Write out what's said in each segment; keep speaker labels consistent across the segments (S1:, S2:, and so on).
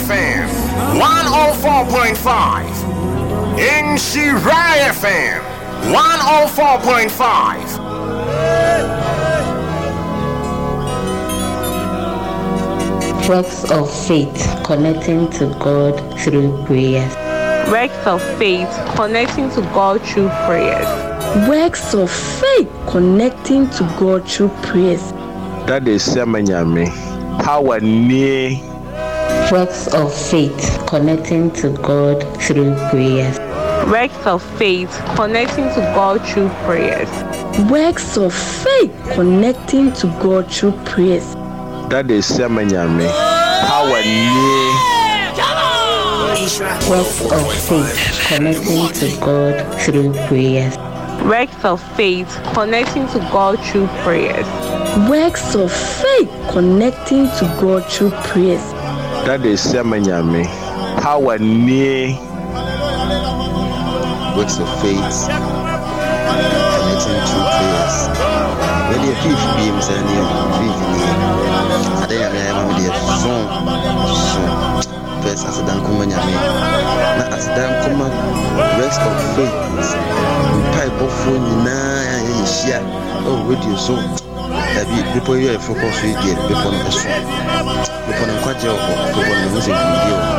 S1: FM 104.5. Nhyira FM 104.5.
S2: Works of faith, connecting to God through prayers.
S3: Works of faith, connecting to God through prayers.
S4: Works of faith, connecting to God through prayers.
S5: Daddy Asiamah Nyame power nie.
S2: Works of faith, connecting to God through prayers.
S3: Works of faith, connecting to God through prayers.
S4: Works of faith, connecting to God through prayers.
S5: Daddy Asiamah Nyame power nie.
S2: Works of faith, connecting to God through prayers.
S3: Works of faith, connecting to God through prayers.
S4: Works of faith, connecting to God through prayers.
S5: Daddy Asiamah Nyame power nie.
S6: Works of faith, connecting through prayers. Wei deɛ fiif biem sɛ neɛ fiif nie. Ade nyame ayɛ ma me deɛ so so. First aseda nkɔma nyame na aseda nkɔma works of faith mpaebɔfoɔ nyinaa a yɛhyia ɛwɔ radio so. Dabi bepɔ yi a yɛforo kɔ so yi deɛ bepɔ no ɛso. Bepɔ no nkwagyeɛ wɔ hɔ. Bepɔ no mehu sɛ nkonimdie wɔ hɔ.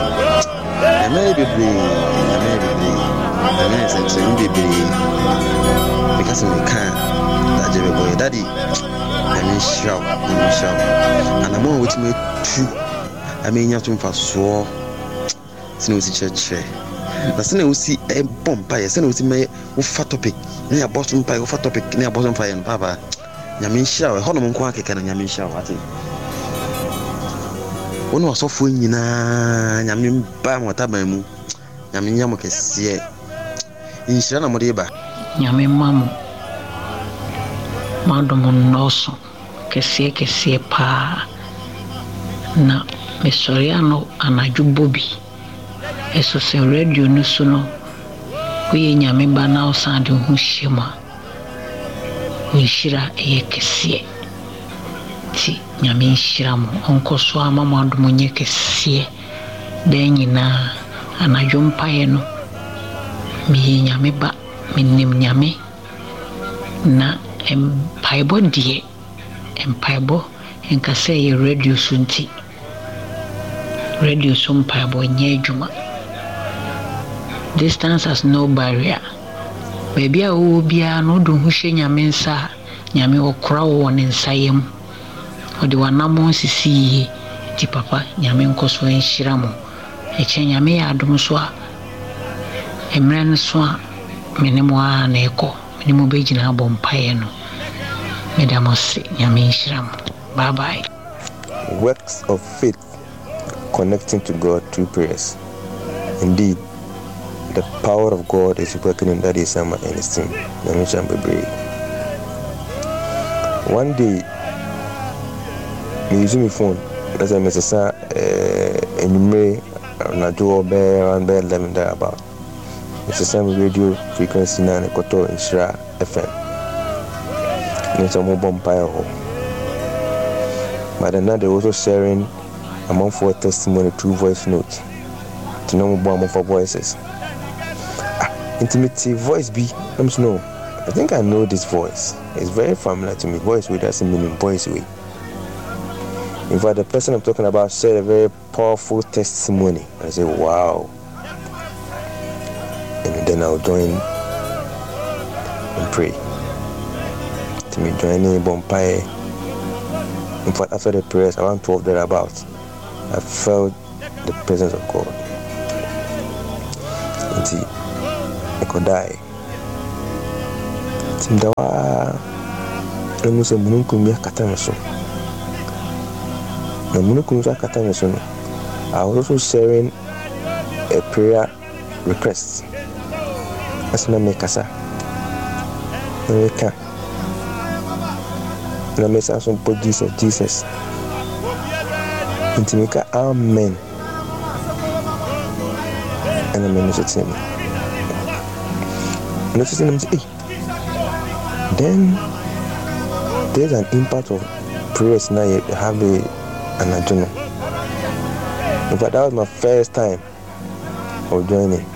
S6: Nyame ayɛ bebree, Nyame ayɛ bebree, Nyame ayɛ nsɛnkyerɛnne bebree. Meka sɛ meka a, dagye bɛbɔ yɛ. Daddy, Nyame nhyira wo, Nyame nhyira wo. Anammɔn a wotumi atu ama anya so mfasoɔ, sɛnea wosi kyerɛkyerɛ, na sɛnea wosi bɔ mpaeɛ, sɛnea wosi ma wofa topic na yɛabɔ so mpaeɛ, wofa topic na yɛabɔ so mpaeɛ no, paapa, Nyame nhyira wo. Ɛhɔnom nko ara kɛkɛ no, Nyame nhyira wo, wate. Wo ne w'asɔfoɔ nyinaa, Nyame mba mo ataban mu, Nyame nyɛ mo kɛseɛ. Nhyira na mode ba.
S7: Nyame mma mo m'adom nnɔɔso kɛseɛ kɛseɛ paa na mesɔre ano anadwo bɔ bi ɛso sɛ radio no so no woyɛ Nyame ba na wosan de wo ho hyɛ mu a wo nhyira yɛ kɛseɛ nti Nyame nhyira mo ɔnkɔso ara ma mo adom nyɛ kɛseɛ daa nyinaa anadwo mpaeɛ no meyɛ Nyame ba menim Nyame na mpaebɔ deɛ mpaebɔ nka sɛ ɛyɛ radio so nti radio so mpaebɔ nyɛ adwuma distance has no barrier baabi a wowɔ biara no wode wo ho hyɛ Nyame nsa a Nyame ɔkora wo wɔ ne nsa yam ɔde w'anammɔn sisi yie nti papa Nyame nkɔso nhyira mo ɛkyɛ Nyame yɛ adom so a mmerɛ no so a me ne mo ara na ɛkɔ me ne mo bɛgyina abɔ mpaeɛ no meda mo ase Nyame nhyira mo bye bye.
S8: Works of faith connecting to God through prayers. Indeed, the power of God is working in Daddy Sama and his team. Nyame nhyira mo bebree. One day, me use my phone. Na sɛ mesesa eh, anwummere anadwo bɛyɛ around bɛyɛ 11 there about. Mesesa me radio frequency na ne kɔtɔ Nhyira FM. Ne sɛ wɔbɔ mpaeɛ hɔ. But then now they also sharing amanfoɔ testimony through voice note. Nti na wɔbɔ amanfoɔ voices. Ah, nti mete voice bi na mesɛ no, I think I know this voice. It's very familiar to me. Voice wei that's meaning voice wei. In fact, the person I'm talking about shared a very powerful testimony. I said, wow. And then I'll join and pray. To me, join in Bompae. In fact, after the prayers, around 12 thereabouts, I felt the presence of God. Nti, mekɔdae. Nti meda hɔ ara na mehu sɛ mununkum bi akata me so. Na mununkum nso akata me so no, I was also sharing a prayer request. Ɛsɛ na mekasa, na meka, na mesan so bɔ Jesus, Jesus. Nti meka amen. Ɛna m'ani so tee me. M'ani so tee me sɛ, ei, then there's an impact of prayers na yɛ have anadwo no. In fact, that was my first time of joining.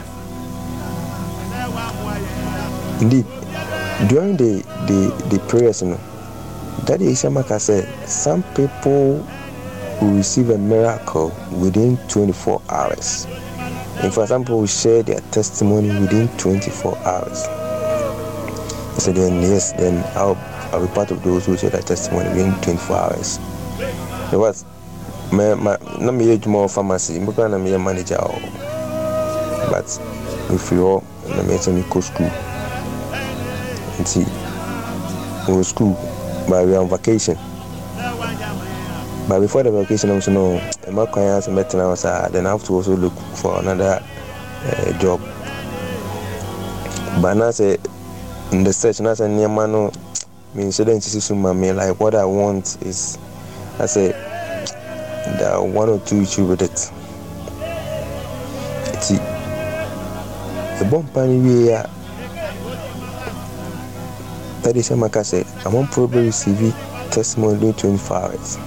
S8: Indeed, during the the the prayers, you know, Daddy Isiamaka said some people will receive a miracle within 24 hours. In fact, some people will share their testimony within 24 hours. I said, then yes, then I'll, I'll be part of those who share their testimony within 24 hours. It was me ma na meyɛ adwuma wɔ pharmacy mpo koraa na meyɛ manager wɔ hɔ but mefiri hɔ na meyɛ sɛ mekɔ school nti mewɔ school but we are on vacation but before the vacation I'm so no ɛma kwan ara sɛ mɛtena hɔ saa then I have to also look for another uh, job but na sɛ in the search na sɛ nneɛma no Menhyɛ da nsisi so ma me like what I want is asɛ there are one or two issue with it. Nti yɛbɔ mpa no wie a that is maka sɛ amanfoɔ bɛ receive testimony during 24 hours.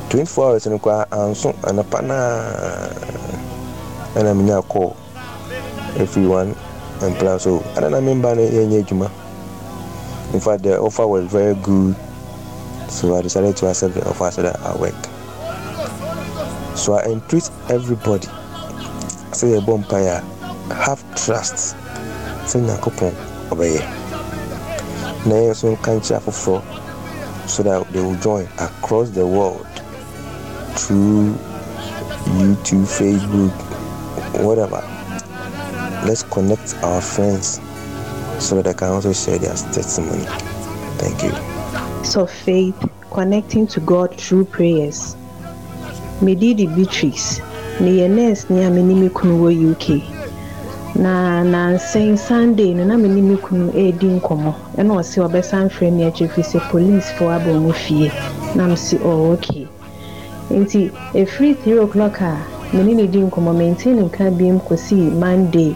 S8: 24 hours no koraa anso anɔpa no a ɛna menya call. Every one and plan so ada na me mba no yɛnyɛ adwuma in fact the offer was very good so I decided to accept the offer so that I work so I entreat everybody sɛ yɛbɔ mpaeɛ a have trust sɛ Nyankopɔn ɔbɛyɛ na yɛn nso nka nkyerɛ afoforɔ so that they will join across the world through YouTube, Facebook, whatever. Let's connect our friends so that they can also share their testimony. Thank you.
S3: So faith connecting to God through prayers. Me din de Beatrice. Meyɛ nurse ni a me ne me kunu wɔ UK. Na nansa yi Sunday no na me ne me kunu redi nkɔmmɔ ɛna ɔse ɔbɛsan frɛ me akyire firi sɛ policefoɔ aba wɔn fie. Na mese oh okay. Nti ɛfiri 3 o'clock a me ne no di nkɔmmɔ mentee ne nka biom kɔsii Monday.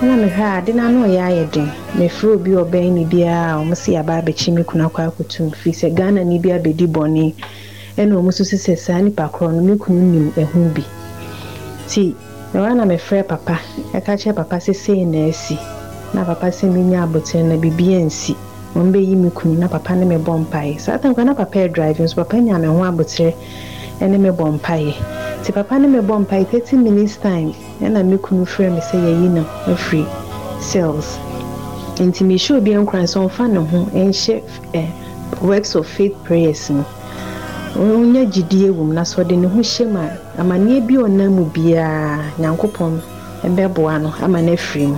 S3: Ɛna mehwɛ a ade no ano reyɛ ayɛ den. Mefrɛ obi a ɔbɛn me biara a wɔn se yɛaba abɛkye me kunu akɔ akɔtum firi sɛ Ghanani bi abɛdi bɔne ɛna wɔn susu sɛ saa nipa korɔ no me kunu nim ɛho bi. Nti ɛhɔ ara na mefrɛɛ papa ɛka kyerɛɛ papa sɛ sei na asi. Na papa se menya aboterɛ na biribi ansi. Wɔn bɛyi me kunu na papa ne me bɔ mpaeɛ. Saa time koraa na papa redrive nso papa nyaa me ho aboterɛ ɛne me bɔ mpaeɛ. Nti papa ne me bɔ mpaeɛ 30 minutes time Ɛna me kunu frɛɛ me sɛ yɛayi no afiri cells. Nti mehyɛ obiara nkuran sɛ ɔmfa ne ho nhyɛ Works of Faith prayers mu. Ɔnya gyidie wɔ mu na sɛ ɔde ne ho hyɛ mu a, amaneɛ bi a ɔnam mu biara Nyankopɔn bɛboa no ama no afiri mu.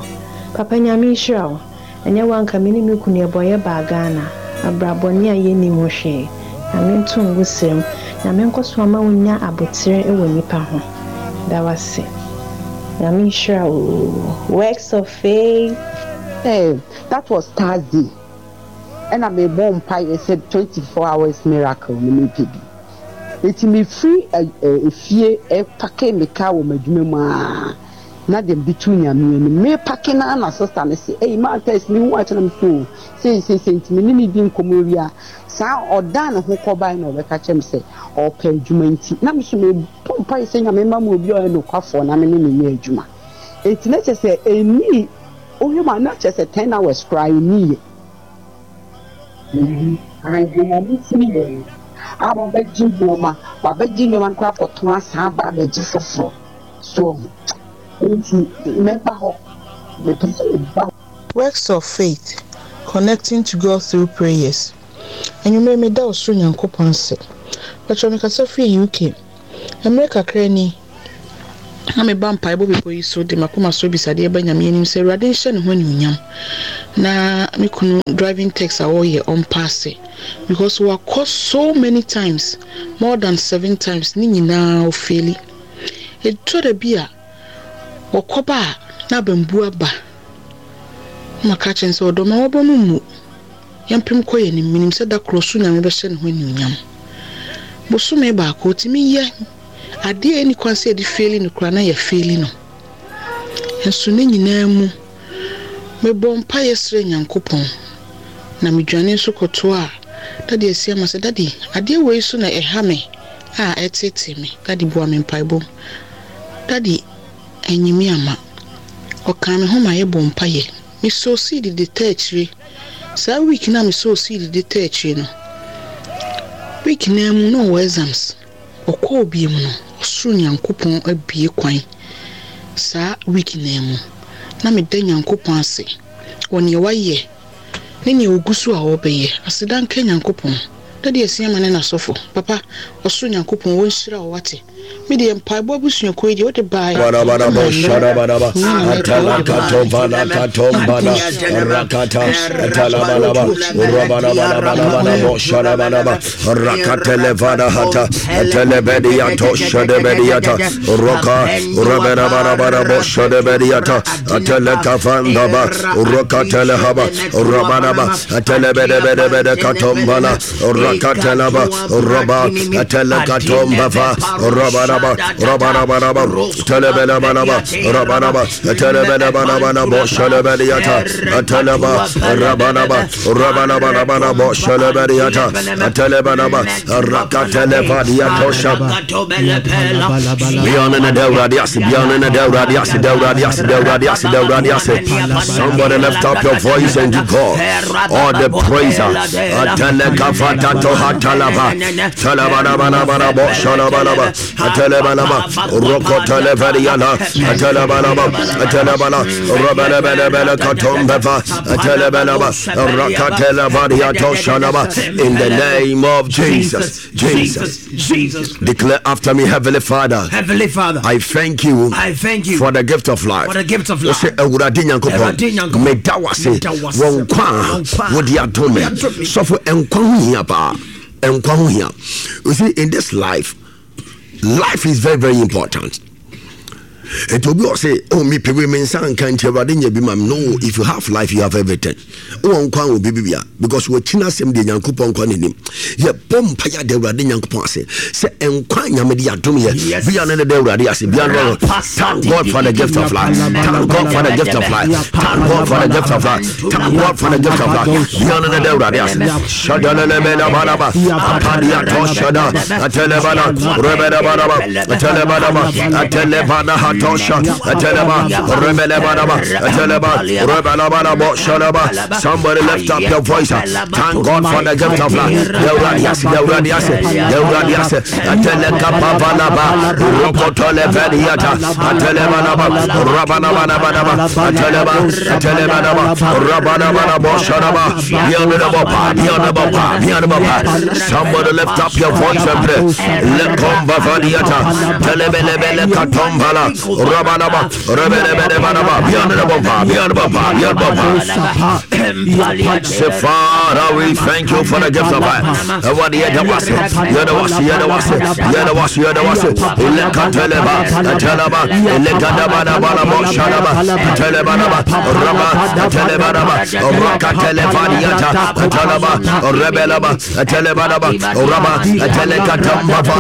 S3: Papa Nyame nhyira wo. Ɛnyɛ wo anka me ne me kunu yɛbɔ yɛ baa Ghana abrabɔne a yɛnnim ho hwee Nyame nto ngu serem Nyame nkɔso ama wo nya aboterɛ wɔ nnipa ho Da wase Nyame nhyira wo oo Works of faith.
S9: Eh that was Thursday ɛna me bɔ mpaeɛ sɛ 24 hours miracle no me pɛ bi nti me firi efie pake me car wɔ m'adwuma mu aa Na deɛ mede too Nyame anim. Me pake no ara na sister no se, Ei maa Tess me hu akyɛ na me se oo sei sei sei nti me ne no di nkɔmmɔ wie a, saa ɔdan ne ho kɔ bae na ɔbɛka kyerɛ me sɛ ɔɔpɛ adwuma nti na me nso me bɔ mpaeɛ sɛ Nyame mma me obi a ɔyɛ nokwafoɔ na me ne no nyɛ adwuma. Nti na kyerɛ sɛ ɛnnii, wohwɛ mu a na kyerɛ sɛ ten hours koraa ɛnniiɛ. A wabɛgye nneɛma, wabɛgye nneɛma no koraa akɔtɔn asan aba abɛgye foforɔ. So wahu? Enti mɛba hɔ. Mepɛ sɛ meba hɔ.
S10: Works of Faith, Connecting to God Through Prayers Anwummere yi meda Ɔsoro Nyankopɔn ase. Patrɔ mekasa firi UK. Mmerɛ kakra ni na meba mpaebɔ bepɔ yi so de m'akoma so abisadeɛ ba Nyame anim sɛ Awurade nhyɛ ne ho anuonyam na me kunu driving text a ɔreyɛ ɔmpaase because wakɔ so many times more than seven times ne nyinaa ɔfeeli. Ɛtɔ da bi a wɔkɔba a na abambu aba na maka akyerɛ no sɛ ɔdɔ ma w'aba mu mmu yɛmpem kɔ yɛn anim menim sɛ da koro ɔsoro Nyame bɛhyɛ ne ho anuonyam. Bosome baako ɔtumi yɛ adeɛ a ɛnni kwan sɛ yɛde feeli no koraa na yɛafeeli no. Nso ne nyinaa mu mebɔɔ mpaeɛ srɛɛ Nyankopɔn na medwane nso kɔtoaa Daddy Asiamah sɛ Daddy adeɛ wei so na ɛha me. a ɛreteetee me. Daddy boa me mpaebɔ mu. Daddy anyi me amma. Ɔkaa me ho ma yɛbɔɔ mpaeɛ. Me soo seed de taa akyire. Saa week no a me soo seed de taa akyire no, week no ara mu na ɔwɔ exams. Ɔkɔɔ biom no, ɔsoro Nyankopɔn abue kwan saa week no ara mu. Na meda Nyankopɔn ase wɔ nea wayɛ ne nea ɔgu so a ɔrebɛyɛ. Aseda nka Nyankopɔn. Daddy Asiamah ne n'asɔfo. Papa, ɔsoro Nyankopɔn ɔnhyira wo wate. Me deɛ mpaebɔ abusuakuo yi deɛ wode baeɛ ma nnɛ nyɛ na mɛka wode
S11: Rakatelaba, Roba, Atelekatombafa, Robaraba, Robarabaraba, Telebelabalaba, Rabaraba, Telebelabalabala, Boshalebeliata, Ateleba, Rabaraba, Rabarabarabara, Boshalebeliata, Atelebalaba, Rakatelebadiatosha. Somebody lift up your voice and give God all the praise. Atelekafatato hatalaba. Talabarabarabo shalabalaba. Atelebalaba. Rokoteleveriana. Atelebalaba. Atelebala. Robelebelebele katombefa. Atelebelaba. Rakatelevariato shalaba. In the name of Jesus. Jesus.
S12: Jesus.
S11: Declare after me, Heavenly Father.
S12: Heavenly Father.
S11: I thank you.
S12: I thank you
S11: for the gift of life.
S12: For the gift of life.
S11: Ose Awurade Nyankopɔn. Meda wo ase. Wɔ nkwa a wode adom me. Sɔfo nkwa ho hia paa. Nkwa ho hia. You see, in this life, life is very very important. Nti obi ɔse, oh me pɛ wei me nsa nka nti Awurade nyɛ bi ma me. No, if you have life, you have everything. Wowɔ nkwa wɔ biribi bia because wɔkyi no asɛm deɛ Nyankopɔn nkwa n'anim. Yɛbɔ mpa yɛ ada Awurade Nyankopɔn ase sɛ nkwa Nyame de adom yɛ. Bia ne ne da Awurade ase. Bia no thank God for the gift of life. Thank God for the gift of life. Thank God for the gift of life. Thank God for the gift of life. Bia ne ne da Awurade ase. Shadalelemelabadaba apadiato shada atelebala rebedabadaba atelebadaba atelebana hatosha ateleba rebelebadaba ateleba rebelabadabo shadaba. Somebody lift up your voice. Thank God for the gift of life. Dewradias, Dewradias, Dewradias, Atelekapavalaba, Rokotoleveliata, Atelebalaba, Rabanabanabanaba, Ateleba, Atelebanaba, Rabanabanabo Shadaba, Somebody lift up your voice and pray. Lekomba vadiata, telebelebele katombala, rabalaba, rebelebelebalaba, bianababa, bianababa, bianababa. Say, Father, we thank you for the gift of life. Yedawase, Yedawase, Yedawase, Yedawase, Yedawase, Ilekateleba, Teleba, Ilekadabanabalabo, Shalaba, Telebanaba, Raba, Telebanaba, Rakatelevadiata, Teleba, Rebelaba, Telebanaba, Raba, Telekatambava,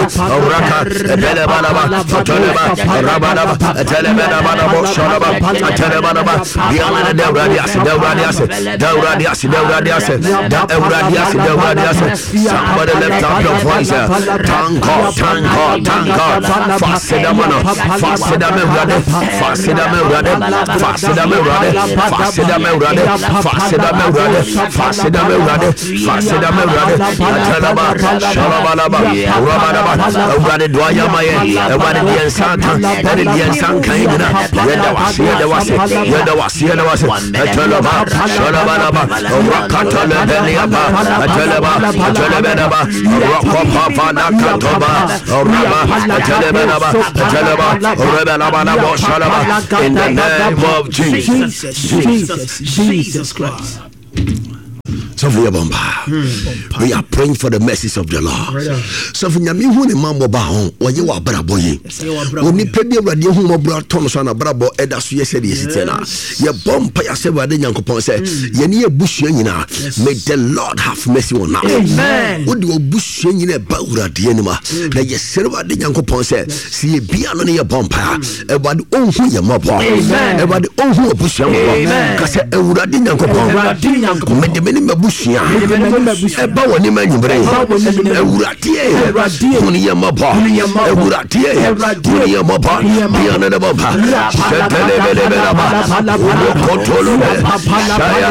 S11: Raka, Belebanaba, Teleba, Rabanaba, Telebanaba, Shalaba, Telebanaba, Biana Deuradias, Deuradias, Deuradias, Deuradias, Deuradias, Deuradias. Somebody lift up your voice. Thank God, thank God, thank God. Fasidamana, Fasidamurade, Fasidamurade, Fasidamurade, Fasidamurade, Fasidamurade, Fasidamurade, Fasidamurade, Atalaba, Shalabalaba, Rabalaba, Awurade do ayɛ ma yɛ, Awurade deɛ nsa aka, ɛne deɛ nsa nka yɛ nyina, yɛda wase, yɛda wase, yɛda wase, yɛda wase, Atalaba, Shalabalaba, Rakatalebeliaba, Atalaba, Atalebelaba, Rakopapa, Raba, Atalebelaba, Ataleba, Rebelaba, Shalaba, in the name of Jesus.
S12: Jesus, Jesus Christ.
S11: Sɔfo yɛ bɔ mpaa. We are praying for the mercies of the Lord. Sɔfo nyame hu ne ma mmɔba ho wɔyɛ wɔ abrabɔ yi. Onipa bi awurade hu mmɔborɔ atɔ no so anabrabɔ ɛda so yɛ sɛdeɛ ɛsi teɛ no a yɛbɔ mpa yɛ sɛ awurade nyankopɔn sɛ yɛne yɛ busua nyinaa may the Lord have mercy on us. Wode wabusua nyinaa ɛba awurade anim a na yɛsrɛ awurade nyankopɔn sɛ sɛ yɛbia no ne yɛbɔ mpa a awurade ɔnhu yɛ mmɔbɔ. Awurade ɔnhu abusua mmɔbɔ. Ka sɛ awurade nyankopɔn mede me ne mabu m'abusua ɛba w'anim anwummere yi. Awurade, hunu yɛn mmɔbɔ. Awurade, hunu yɛn mmɔbɔ. Bia ne ne bɔba. Hyɛtɛlɛbɛlɛbɛlɛba. Wokotolobe. Shaya.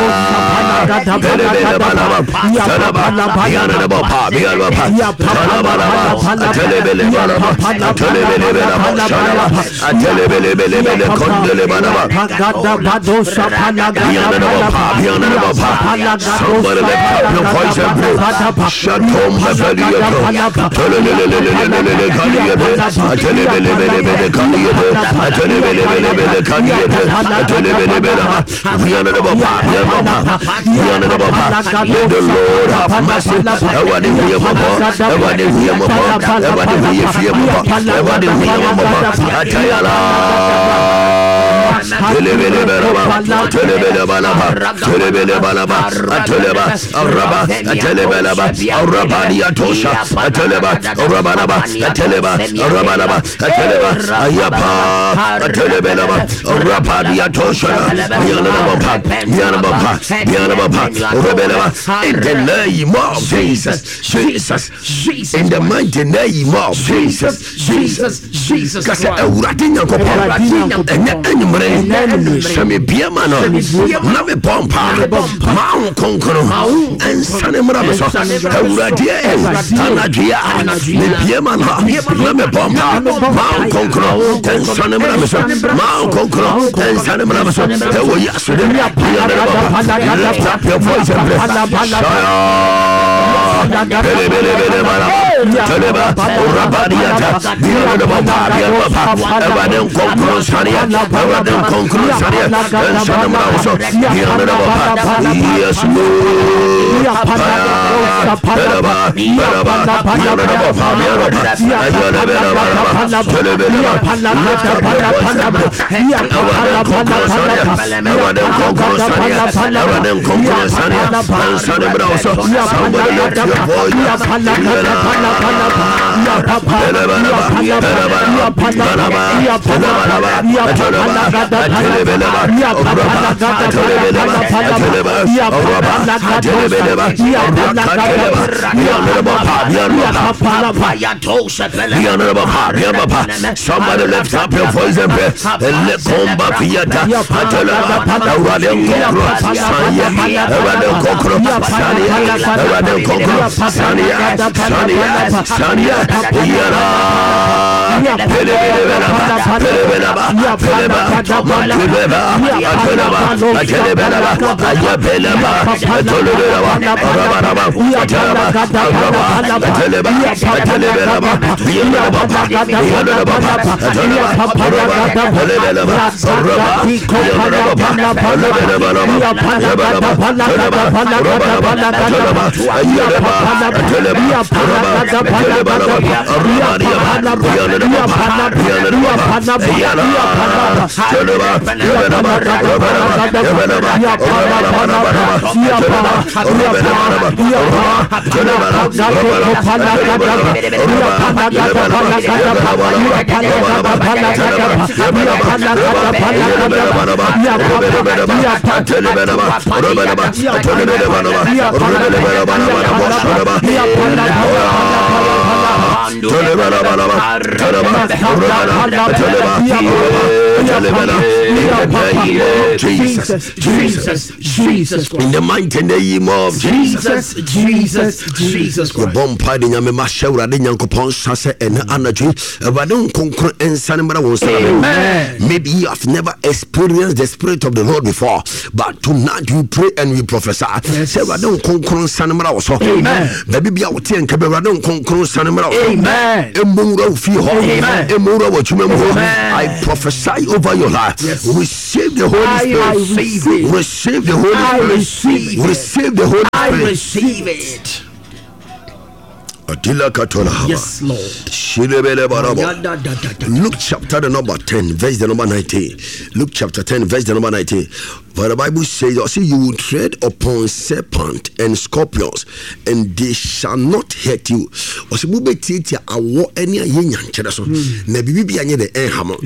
S11: Belebelebalaba. Talaba. Bia ne ne bɔba. Bia ne bɔba. Talabalaba. Atelebelebalaba. Atelebelebelaba. Shalaba. Somebody lift up your voice and pray. Shatom Let the Lord have mercy. Atayala. In the name of Jesus, Jesus, Jesus. In the mighty name of Jesus, Jesus, Jesus. Kasa Awurade Nyankopɔn, ɛnɛ anwummerɛ sɛ mebia ma no na mebɔ mpa ma wo kronkron ɛnsane mmra me so. Awurade anadwe a mebia ma no na mebɔ mpa ma wo kronkron ɛnsane mmra me so, ma wo kronkron ɛnsane mmra me so. Ɛwɔ Yesu de. Lift up your voice and pray. Yes, Somebody lift your voice. Somebody lift up your voice and pray. Lekomba fiata, Ateleba, Awurade nkɔnkoro, Sanya, Awurade nkɔnkoro, Sanya, Awurade nkɔnkoro, Sanya, Sanya, Sanya, Yara, Pelebelebelaba, Pelebelaba, Peleba, Matubeba, Ateleba, Atelebelaba, Ayabeleba, Atolebelaba, Arabaraba, Ateleba, Araba, Ateleba, Atelebelaba, Yanaba, Yanaba, Ateleba, Araba, Pelebelaba, Araba, Yanaba, Pelebelaba, Yabalaba, Teleba, Rabalaba, Teleba, Ayaleba, Teleba, Araba, Telebalaba, Arabariaba, Yanaba, Yanaba, Yala, Teleba, Yabalaba, Rabalaba, Yabalaba, Rabalaba, Teleba, Rabalaba, Teleba, Rabalaba, Jesus, Jesus, Jesus Christ. In the mighty name of Jesus,
S12: Jesus, Jesus Christ.
S11: Yɛbɔ mpa de nyame ma hyɛ Awurade Nyankopɔn nsa sɛ ɛnɛ anadwo Awurade nkonkron nsane mmra wɔn nsa. Maybe you have never experienced the spirit of the Lord before, but tonight you pray and you prophesy. Sɛ Awurade nkonkron nsane mmra wɔ so. Baabi bi a wote nka bi Awurade nkonkron nsane mmra wɔ so. Ɛmmɔ nwura wo fie hɔ. Ɛmmɔ nwura wɔ adwuma mu hɔ. I prophesy over your life. Yes. Receive the Holy Spirit.
S12: Receive it.
S11: Receive the Holy Spirit.
S12: Receive it.
S11: Receive the Holy Spirit.
S12: I receive it.
S11: Adila Katola Haba.
S12: Yes, Lord.
S11: Shilebele Barabo. Luke chapter the number 10, verse the number 19. Luke chapter 10, verse the number 19. For the Bible says, "I see you will tread upon serpent and scorpions, and they shall not hurt you." Ɔsɛ mo bɛ tietia awɔ ɛne ayɛ nyankyerɛ so, hmm. na biribi bi anyɛ dɛ ɛnha mo.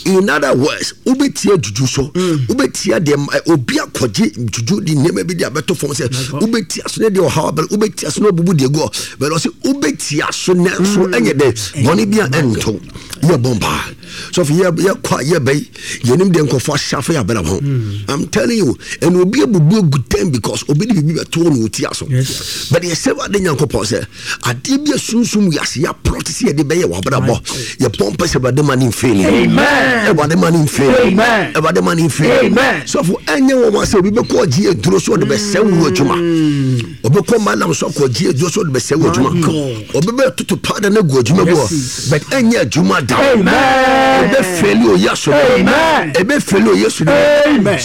S11: In other words, wobɛtia juju so, hmm. wobɛtia deɛ obi akɔgye juju de nneɛma bi de abɛto fam sɛ wobɛtia so ne deɛ ɔhaw abɛrɛ, wobɛtia so na obubu deɛ gu hɔ, bɛrɛ ɔsɛ wobɛtia so ne so hmm. ɛnyɛ dɛ bɔne bi a ɛnto yɛ bɔ mpaa. Sɔfo yɛ yɛ kɔ a yɛ bɛyi yɛnim deɛ nkurɔfoɔ ahyɛ afa yɛ abrabɔ ho hmm. I'm telling you ɛna obi abubu agu dɛm because obi de biribi bɛto na ɔti aso but yɛsɛ wade nyankopɔn sɛ adeɛ bi asunsum wiase yɛaplɔte sɛ yɛde bɛyɛ w'abrabɔ yɛbɔ mpɛ sɛ awurade ma ne mfeeli awurade ma ne mfeeli awurade ma ne mfeeli sɔfo ɛnyɛ wɔn sɛ obi bɛkɔ ɔgye aduro so ɔde bɛsɛ wo adwuma hmm. ɔbɛkɔ malam so akɔgye aduro so ɔde bɛsɛ wo adwuma ɔbɛbɛ toto powder no agu adwuma mu hɔ but ɛnyɛ adwuma da ɛbɛ fɛli oyɛ so ɛbɛ fɛli oyɛ so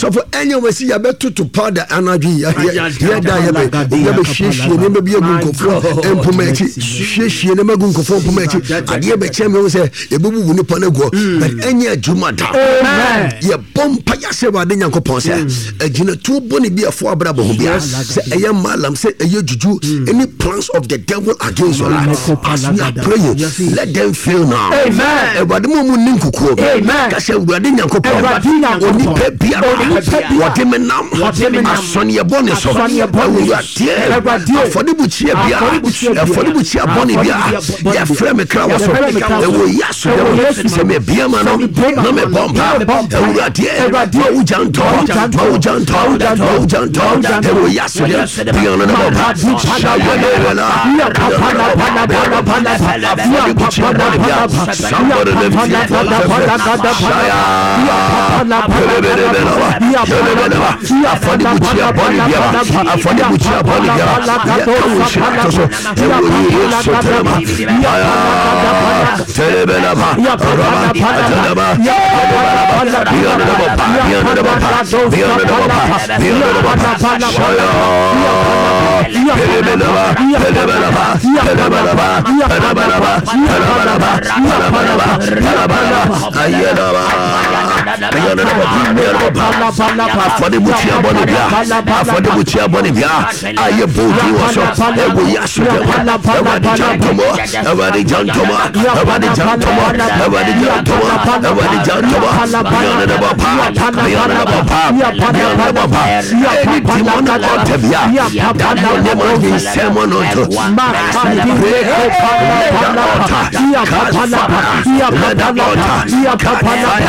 S11: sɔfo ɛnyɛ wɔn si yabɛ toto powder anadwo yɛ da yɛbɛ yɛbɛ hwiehwie nneɛma bi agu nkɔfoɔ mpoma akyi hwiehwie nneɛma agu nkɔfoɔ mpoma akyi adeɛ bɛkyɛn mi sɛ yɛbɛbubu nipa no aguɔ mm. but ɛnyɛ adwuma da yɛbɔ mpa yɛasɛ awurade nyankopɔn sɛ mm. agyinatuo bɔne bi ɛfo abrabɔ ho bia sɛ ɛyɛ malam sɛ ɛyɛ juju mm. any plans of the devil against your life as we are praying let them fail now awurade mu mu ni nkukuo ka sɛ awurade nyankopɔn onipa biara wɔde me nam asɔneɛ bɔne so awurade afɔdebukyia biara afɔdebukyia bɔne biara yɛfrɛ me kra wɔ so ɛwɔ yi asodɛm sɛ mebia ma no na mebɔ mpa awuradeɛ ma wo gya ntɔ ma wo gya ntɔ ma wo gya ntɔ ɛwɔ yi asodɛm bia no na bɔ mpa hyawɛlɛwɛla afɔdebukyia bɔne bia somebody lift your voice shaya afɔdebukyia bɔne bia afɔdebukyia bɔne bia yɛka wo nhyira to so Afɔdebukyia bɔne bia afɔdebukyia bɔne bia a yɛbɔ din wɔ so ɛwɔ yi asodɛ mu awurade gya ntɔmɔ awurade gya ntɔmɔ awurade gya ntɔmɔ awurade gya ntɔmɔ awurade gya ntɔmɔ beyond the bɔ pa beyond the bɔ pa beyond the bɔ pa any demon altar bia that your name has been summoned unto pray let the altar catch fire let the altar catch fire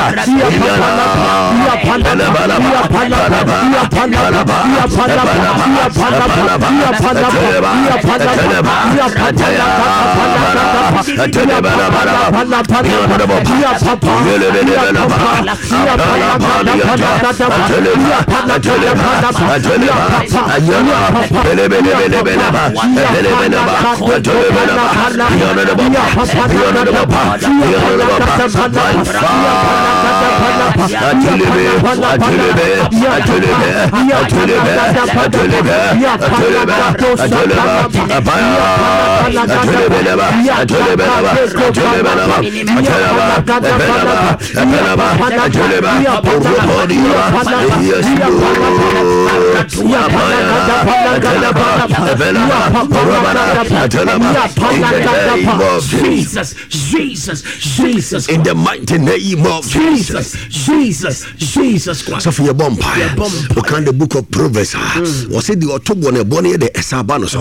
S12: Jesus, Jesus, Jesus.
S11: In the mighty name of
S12: Jesus, Jesus, Jesus Christ.
S11: Sɔfo yɛ bɔ mpaeɛ. Ɔkan the book of Proverbs a hmm. wɔsɛ deɛ ɔto bɔ no ɛbɔ no yɛ dɛ ɛsa ba no so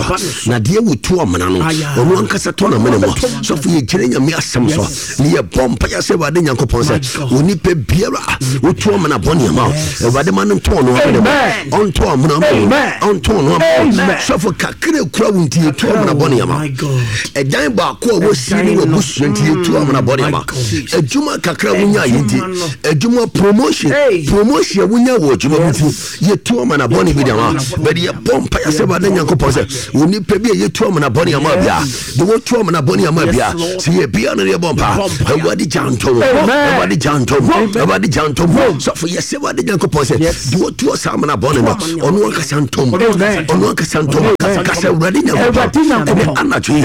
S11: na deɛ wɔtu amena no ɔno ankasa tɔ n'amena mu. Sɔfo yɛ gyina nyame asɛm so ne yɛ bɔ mpaeɛ sɛ Awurade Nyankopɔn sɛ onipa biara wotu amena bɔ nneɛma Awurade ma no ntɔ ɔno amena mu ɔntɔ amena mu ɔntɔ ɔno amena mu. Sɔfo kakra kura wo nti yɛtu amena bɔ nneɛma ɛdan baako a wɔsi ne wɔ busua nti yɛtu amena bɔ nneɛma adwuma kakra wonya yɛ nti adwuma promotion promotion a wonya wɔ adwuma mu nti yɛtu amana bɔne bi dama bɛde yɛbɔ mpa yɛ sɛ wade nyankopɔn sɛ onipa bi a yɛtu amana bɔne ama bia de wɔtu amana bɔne ama bia sɛ yɛbia no yɛbɔ mpa awurade gya ntom awurade gya ntom awurade gya ntom sɔfo yɛsɛ wade nyankopɔn sɛ de wɔtu ɔsa amana bɔne no ɔno ankasa ntom ɔno ankasa ntom kasa awurade nyankopɔn ɛne anadwo yi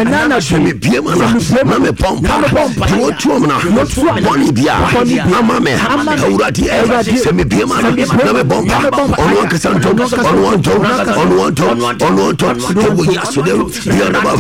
S11: sɛ mebie ma no na mebɔ mpa de wɔtu amana bɔne bia ama me. Awurade sɛ mebie ma no na mebɔ mpa ɔno ankasa ntɔ ɔno antɔ ɔno antɔ ɔno antɔ ɛwɔ Yesu dɛ bianaba.